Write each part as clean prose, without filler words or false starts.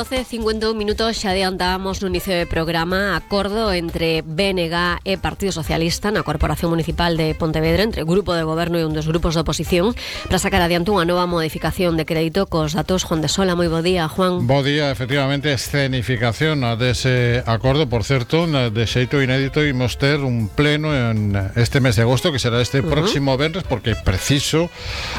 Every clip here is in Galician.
12:51 minutos, xa adiantábamos no inicio do programa acordo entre BNG e Partido Socialista na Corporación Municipal de Pontevedra, entre o grupo de goberno e un dos grupos de oposición, para sacar adiante unha nova modificación de crédito cos datos. Juan de Sola, moi bo día, Juan. Bo día, efectivamente, escenificación dese acordo. Por certo, de xeito inédito imos ter un pleno en este mes de agosto, que será este próximo venres, porque é preciso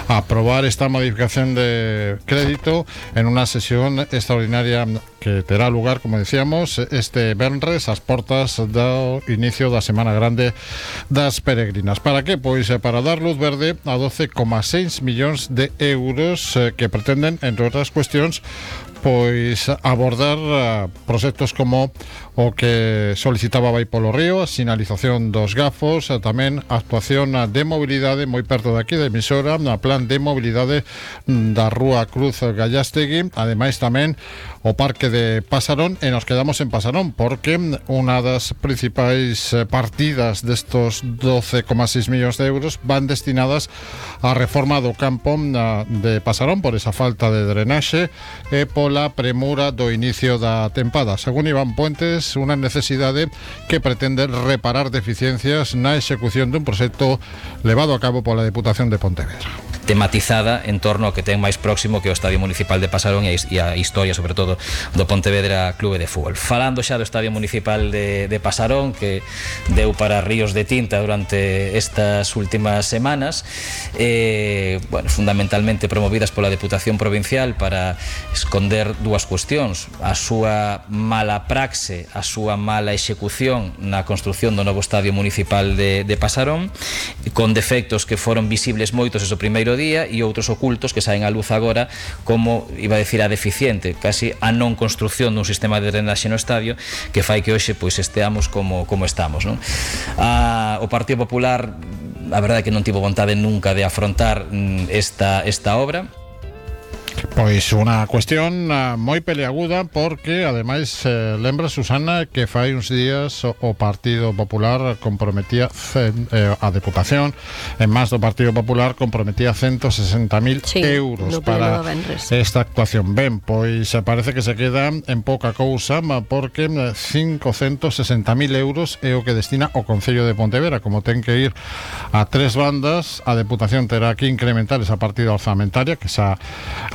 aprobar esta modificación de crédito en unha sesión extraordinaria que terá lugar, como decíamos, este venres ás portas do inicio da Semana Grande das Peregrinas. Para que? Pois para dar luz verde a 12,6 millóns de euros que pretenden, entre outras cuestións, pois abordar proxectos como o que solicitaba Vai polo Río, a sinalización dos gafos, tamén a actuación de mobilidade moi perto de aquí, de emisora, na plan de mobilidade da Rúa Cruz Gallastegui, ademais tamén o Parque de Pasarón, e nos quedamos en Pasarón, porque unha das principais partidas destos 12,6 millóns de euros van destinadas á reforma do campo de Pasarón por esa falta de drenaxe e pola premura do inicio da tempada. Según Iván Puentes, unha necesidade que pretende reparar deficiencias na execución dun proxecto levado a cabo pola Deputación de Pontevedra, tematizada en torno ao que ten máis próximo, que é o Estadio Municipal de Pasarón e a historia, sobre todo, do Pontevedra Clube de Fútbol. Falando xa do Estadio Municipal de Pasarón, que deu para ríos de tinta durante estas últimas semanas, fundamentalmente promovidas pola Deputación Provincial para esconder dúas cuestións: a súa mala praxe, a súa mala execución na construción do novo Estadio Municipal de Pasarón, con defectos que foron visibles moitos ese primeiro día e outros ocultos que saen á luz agora, como, iba a decir, a deficiente, casi a non construción dun sistema de drenaxe no estadio, que fai que hoxe pois esteamos como estamos, non? O Partido Popular, a verdade é que non tivo vontade nunca de afrontar esta obra. Pois unha cuestión moi peleaguda, porque ademais lembra, Susana, que fai uns días o Partido Popular comprometía a Deputación, en máis do Partido Popular, comprometía 160.000 euros para esta actuación. Ben, pois parece que se queda en pouca cousa, porque 560.000 euros é o que destina o Concello de Pontevedra. Como ten que ir a tres bandas, a Deputación terá que incrementar esa partida orzamentaria, que xa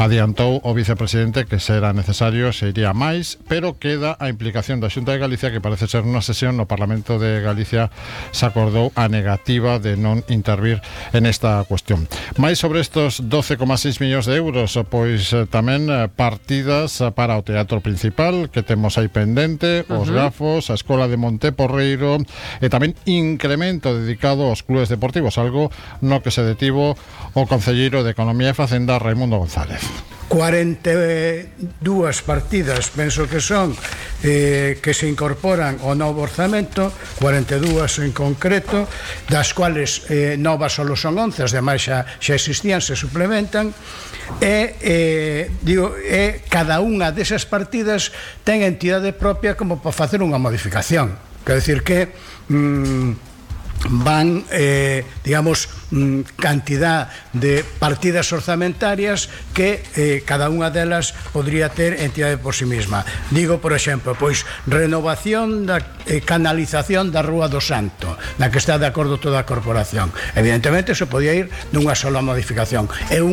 adiantou o vicepresidente que será necesario, se iría máis, pero queda a implicación da Xunta de Galicia, que parece ser unha sesión no Parlamento de Galicia se acordou a negativa de non intervir en esta cuestión. Mais sobre estos 12,6 millóns de euros, pois tamén partidas para o teatro principal, que temos aí pendente, os gafos, a Escola de Monteporreiro, e tamén incremento dedicado aos clubes deportivos, algo no que se detivo o concelleiro de Economía e Facenda, Raimundo González. 42 partidas, penso que son, que se incorporan ao novo orzamento, 42 en concreto, das cuales novas só son 11, as demais xa existían, se suplementan, e cada unha desas partidas ten entidade propia como para facer unha modificación. Quer decir que van, cantidad de partidas orzamentarias que cada unha delas podría ter entidade por sí mesma. Digo, por exemplo, pois renovación da canalización da Rúa do Santo, na que está de acordo toda a corporación. Evidentemente, se podía ir dunha sola modificación. É